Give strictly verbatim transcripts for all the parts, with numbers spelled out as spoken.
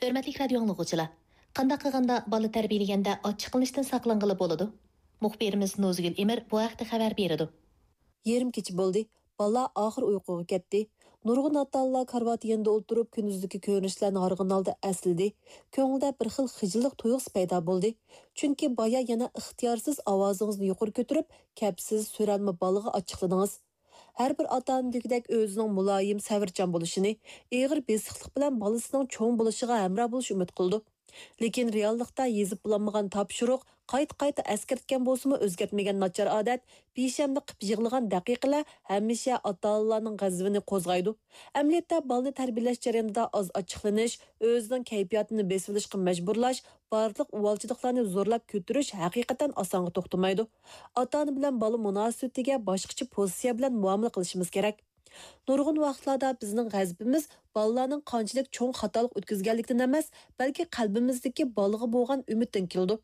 ھۆرمەتلىك رادىيو ئاڭلىغۇچىلار! قانداق قىلغاندا بالا تەربىيەلىگەندە ئاچچىقلىنىشتىن ساقلانغىلى بولىدۇ؟ مۇخبىرىمىز نوزىگۈل ئىمىر بۇ ھەقتە خەۋەر بېرىدۇ. يېرىم كېچە بولدى. بالىلار ئاخىر ئۇيقۇغا كەتتى. نۇرغۇن ئاتا-ئانىلار كارىۋات يېنىدا ئولتۇرۇپ، كۈندۈزدىكى كۆرۈنۈشلەرنى ھارغىن ھالدا ئەسلىدى. كۆڭلىدە بىر خىل خىجىللىق تۇيغۇسى پەيدا بولدى. چۈنكى بايا يەنە ئىختىيارسىز ئاۋازىڭىزنى يۇقىرى كۆتۈرۈپ، كەپسىز، سۆرەلمە بالىغا ئاچچىقلىدىڭىز. ھەر بىر ئاتا-ئانا دېگۈدەك ئۆزىنىڭ مۇلايىم، سەۋرچان بولۇشىنى، ئېغىر بېسىقلىق بىلەن بالىسىنىڭ چوڭ بولۇشىغا ھەمراھ بولۇشىنى ئۈمىد قىلىدۇ. لېكىن رېئاللىقتا يېزىپ بولالمىغان تاپشۇرۇق، قايتا-قايتا ئەسكەرتكەن بولسىمۇ ئۆزگەرتمىگەن ناچار ئادەت، پېشەنبە قىپ يىغلىغان دەقىقىلەر ھەمىشە ئاتا-ئانىلارنىڭ غەزىپىنى قوزغايدۇ. ئەمەلىيەتتە بالىنى تەربىيەلەش جەريانىدا ئاز ئاچچىقلىنىش، ئۆزىنىڭ كەيپىياتىنى بېسىۋېلىشقا مەجبۇرلاش، بارلىق ئۇۋالچىلىقلارنى زورلاپ كۆتۈرۈش ھەقىقەتەن ئاسانغا توختىمايدۇ. ئاتا-ئانا بىلەن بالا مۇناسىۋىتىگە باشقىچە پوزىتسىيە بىلەن مۇئامىلە قىلىشىمىز كېرەك. نۇرغۇن ۋاقىتلاردا بىزنىڭ غەزىپىمىز بالىلارنىڭ قانچىلىك چوڭ خاتالىق ئۆتكۈزگەنلىكتىن ئەمەس، بەلكى قەلبىمىزدىكى بالىغا بولغان ئۈمىدتىن كېلىدۇ.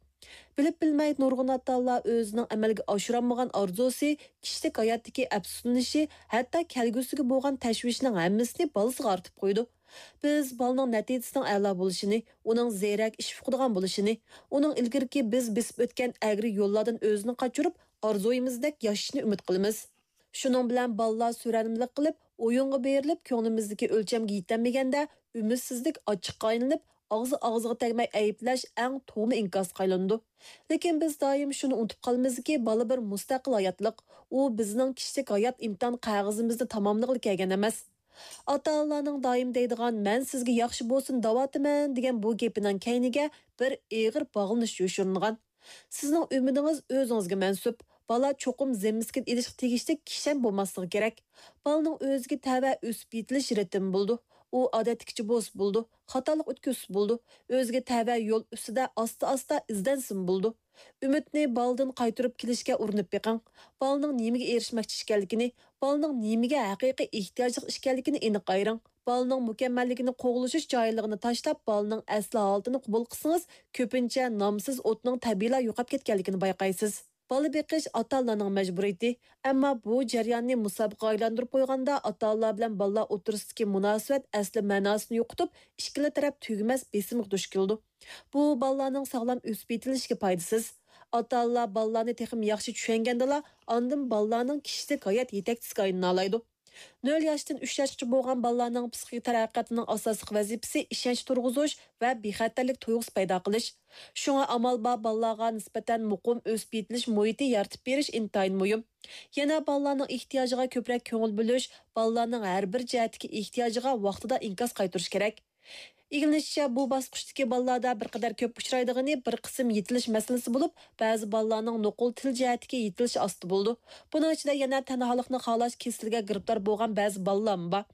بىلىپ-بىلمەي نۇرغۇن ئاتا-ئانىلار ئۆزىنىڭ ئەمەلگە ئاشۇرالمىغان ئارزۇسى، كىشىلىك ھاياتتىكى ئەپسۇسلىنىشى، ھەتتا كەلگۈسىگە بولغان تەشۋىشىنىڭ ھەممىسىنى بالىسىغا ئارتىپ قويىدۇ. بىز بالىنىڭ نەتىجىسىنىڭ ئەلا بولۇشىنى، ئۇنىڭ زېرەك، ئىش ئۇقىدىغان بولۇشىنى، ئۇنىڭ ئىلگىرىكى بىز بېسىپ ئۆتكەن ئەگرى يوللاردىن ئۆزىنى قاچۇرۇپ، ئارزۇيىمىزدەك ياشىشىنى ئۈمىد قىلىمىز. شۇنىڭ بىلەن بالىلار سۆرەنمىلىك قىلىپ، ئويۇنغا بېرىلىپ، كۆڭلىمىزدىكى ئۆلچەمگە يېتەلمىگەندە، ئۈمىدسىزلىك ئاچچىققا ئايلىنىپ، ئاغزى ئاغزىغا تەگمەي ئەيىبلەش ئەڭ توغما ئىنكاسقا ئايلىنىدۇ. لېكىن بىز دائىم شۇنى ئۇنتۇپ قالىمىزكى، بالا بىر مۇستەقىل ھاياتلىق. ئۇ بىزنىڭ كىشىلىك ھايات ئىمتىھان قەغىزىمىزنى تاماملىغىلى كەلگەن ئەمەس. ئاتا-ئانىلارنىڭ دايىم دەيدىغان، مەن سىزگە ياخشى بولسۇن دەۋاتىمەن دېگەن بۇ گېپىنىڭ كەينىگە بىر ئېغىر باغلىنىش يوشۇرۇنغان. سىزنىڭ ئۈمىدىڭىز ئۆزىڭىزگە مەنسۇپ. بالا چوقۇم زىممىسىگە ئېلىشقا تېگىشلىك كىشەن بولماسلىقى كېرەك. بالىنىڭ ئۆزىگە تەۋە ئۆسۈپ يېتىلىش رىتىمى بولىدۇ. ئۇ ئادەتتىكىچە بولسا بولىدۇ، خاتالىق ئۆتكۈزسە بولىدۇ. ئۆزىگە تەۋە يول ئۈستىدە ئاستا-ئاستا ئىزدەنسىمۇ بولىدۇ. ئۈمىدنى بالىدىن قايتۇرۇپ كېلىشكە ئۇرۇنۇپ بېقىڭ. بالىنىڭ نېمىگە ئېرىشمەكچى ئىكەنلىكىنى، بالىنىڭ نېمىگە ھەقىقىي ئېھتىياجلىق ئىكەنلىكىنى ئېنىق ئايرىڭ. بالىنىڭ مۇكەممەللىكىنى قوغلىشىش جاھىللىقىنى تاشلاپ، بالىنىڭ ئەسلى ھالىتىنى قوبۇل قىلسىڭىز، كۆپىنچە نامسىز ئوتنىڭ تەبىئىيلا يوقاپ كەتكەنلىكىنى بايقايسىز. بالا بېقىش ئاتا-ئانىلارنىڭ مەجبۇرىيىتى. ئەمما بۇ جەرياننى مۇسابىقىگە ئايلاندۇرۇپ قويغاندا، ئاتا-ئانىلار بىلەن بالىلار ئوتتۇرىسىدىكى مۇناسىۋەت ئەسلى مەناسىنى يوقىتىپ، ئىككىلا تەرەپ تۈگىمەس بېسىمغا دۇچ كېلىدۇ. بۇ بالىلارنىڭ ساغلام ئۆسۈپ يېتىلىشىگە پايدىسىز. ئاتا-ئانىلار بالىلارنى تېخىمۇ ياخشى چۈشەنگەندىلا، ئاندىن بالىلارنىڭ كىشىلىك ھايات يېتەكچىسىگە ئايلىنالايدۇ. نۆل ياشتىن ئۈچ ياشقىچە بولغان بالىلارنىڭ پسىخىك تەرەققىياتىنىڭ ئاساسلىق ۋەزىپىسى ئىشەنچ تۇرغۇزۇش ۋە بىخەتەرلىك تۇيغۇسى پەيدا قىلىش. شۇڭا ئامال بار بالىلارغا نىسبەتەن مۇقىم ئۆسۈپ يېتىلىش مۇھىتى يارىتىپ بېرىش ئىنتايىن مۇھىم. يەنە بالىلارنىڭ ئېھتىياجىغا كۆپرەك كۆڭۈل بۆلۈش، بالىلارنىڭ ھەر بىر جەھەتتىكى ئېھتىياجىغا ۋاقتىدا ئىنكاس قايتۇرۇش كېرەك. ئىگىلىنىشىچە، بۇ باسقۇچتىكى بالىلاردا بىر قەدەر كۆپ ئۇچرايدىغىنى بىر قىسىم يېتىلىش مەسىلىسى بولۇپ، بەزى بالىلارنىڭ نوقۇل تىل جەھەتتىكى يېتىلىشى ئاستا بولىدۇ. بۇنىڭ ئىچىدە يەنە تەنھالىقنى خالاش كېسىلىگە گىرىپتار بولغان بەزى بالىلارمۇ بار.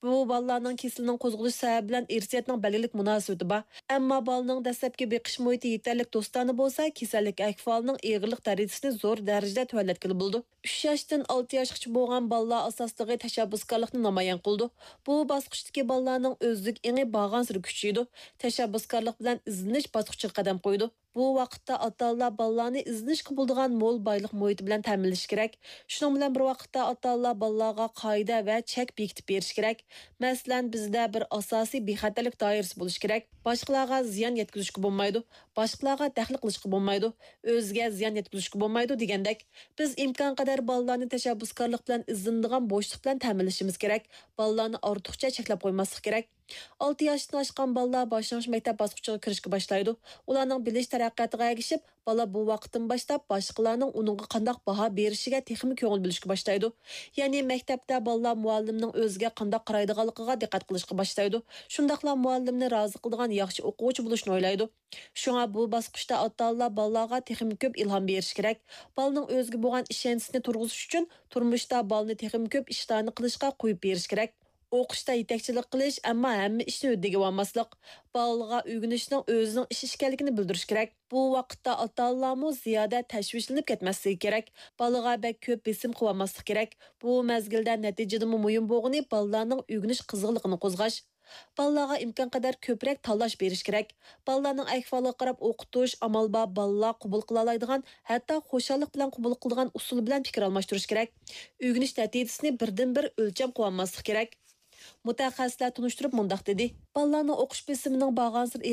بۇ بالىلارنىڭ كېسىلىنىڭ قوزغىلىش سەۋەبى بىلەن ئىرسىيەتنىڭ بەلگىلىك مۇناسىۋىتى بار. ئەمما بالىنىڭ دەسلەپكى بېقىش مۇھىتى يېتەرلىك دوستانە بولسا، كېسەللىك ئەھۋالىنىڭ ئېغىرلىق دەرىجىسىنى زور دەرىجىدە تۆۋەنلەتكىلى بولىدۇ. ئۈچ ياشتىن ئالتە ياشقىچە بولغان بالىلار ئاساسلىقى تەشەببۇسكارلىقنى نامايان قىلىدۇ. بۇ باسقۇچتىكى بالىلارنىڭ ئۆزلۈك ئېڭى بارغانسېرى كۈچىيىدۇ. تەشەببۇسكارلىق بىلەن ئىزدىنىش باسقۇچىغا قەدەم قويىدۇ. بۇ ۋاقىتتا ئاتا-ئانىلار بالىلارنى ئىزدىنىشكە بولىدىغان مول بايلىق مۇھىتى بىلەن تەمىنلىشى كېرەك. شۇنىڭ بىلەن بىر ۋاقىتتا، ئاتا-ئانىلار بالىلارغا قائىدە ۋە چەك بېكىتىپ بېرىشى كېرەك. مەسىلەن، بىزدە بىر ئاساسىي بىخەتەرلىك دائىرىسى بولۇشى كېرەك. باشقىلارغا زىيان يەتكۈزۈشكە بولمايدۇ. باشقىلارغا دەخلى قىلىشقا بولمايدۇ. ئۆزىگە زىيان يەتكۈزۈشكە بولمايدۇ دېگەندەك. بىز ئىمكانقەدەر بالىلارنى تەشەببۇسكارلىق بىلەن ئىزدىنىدىغان بوشلۇق بىلەن تەمىنلىشىمىز كېرەك. بالىلارنى ئارتۇقچە چەكلەپ قويماسلىق كېرەك. ئالتە ياشتىن ئاشقان بالىلار باشلانغۇچ مەكتەپ باسقۇچىغا كىرىشكە باشلايدۇ. ئۇلارنىڭ بىلىش تەرەققىياتىغا ئەگىشىپ، بالا بۇ ۋاقىتتىن باشلاپ باشقىلارنىڭ ئۇنىڭغا قانداق باھا بېرىشىگە تېخىمۇ كۆڭۈل بۆلۈشكە باشلايدۇ. يەنى مەكتەپتە بالىلار مۇئەللىمنىڭ ئۆزىگە قانداق قارايدىغانلىقىغا دىققەت قىلىشقا باشلايدۇ. شۇنداقلا مۇئەللىمنى رازى قىلىدىغان ياخشى ئوقۇغۇچى بولۇشنى ئويلايدۇ. شۇڭا بۇ باسقۇچتا ئاتا-ئانىلار بالىلارغا تېخىمۇ كۆپ ئىلھام بېرىش كېرەك. بالىنىڭ ئۆزىگە بولغان ئىشەنچىسىنى تۇرغۇزۇش ئۈچۈن تۇرمۇشتا بالىنى تېخىمۇ كۆپ ئىشلارنى قىلىشقا قويۇپ بېرىش كېرەك. ئوقۇشتا يېتەكچىلىك قىلىش، ئەمما ھەممە ئىشنى ھۆددىگە ئالماسلىق. بالىغا ئۆگىنىشنىڭ ئۆزىنىڭ ئىشى ئىكەنلىكىنى بىلدۈرۈش كېرەك. بۇ ۋاقىتتا ئاتا-ئانىلارمۇ زىيادە تەشۋىشلىنىپ كەتمەسلىكى كېرەك. بالىغا بەك كۆپ بېسىم قىلىۋالماسلىق كېرەك. بۇ مەزگىلدە نەتىجىدىنمۇ مۇھىم بولغىنى بالىلارنىڭ ئۆگىنىش قىزغىنلىقىنى قوزغاش. بالىلارغا ئىمكانقەدەر كۆپرەك تاللاش بېرىش كېرەك. بالىلارنىڭ ئەھۋالىغا قاراپ ئوقۇتۇش، ئامال بار بالىلار قوبۇل قىلالايدىغان، ھەتتا خۇشاللىق بىلەن قوبۇل قىلىدىغان ئۇسۇل بىلەن پىكىر ئالماشتۇرۇش كېرەك. ئۆگىنىش نەتىجىسىنى بىردىنبىر ئۆلچەم قىلىۋالماسلىق كېرەك. مۇتەخەسسىسلەر تونۇشتۇرۇپ مۇنداق دېدى: بالىلارنىڭ ئوقۇش بېسىمىنىڭ بارغانسېرى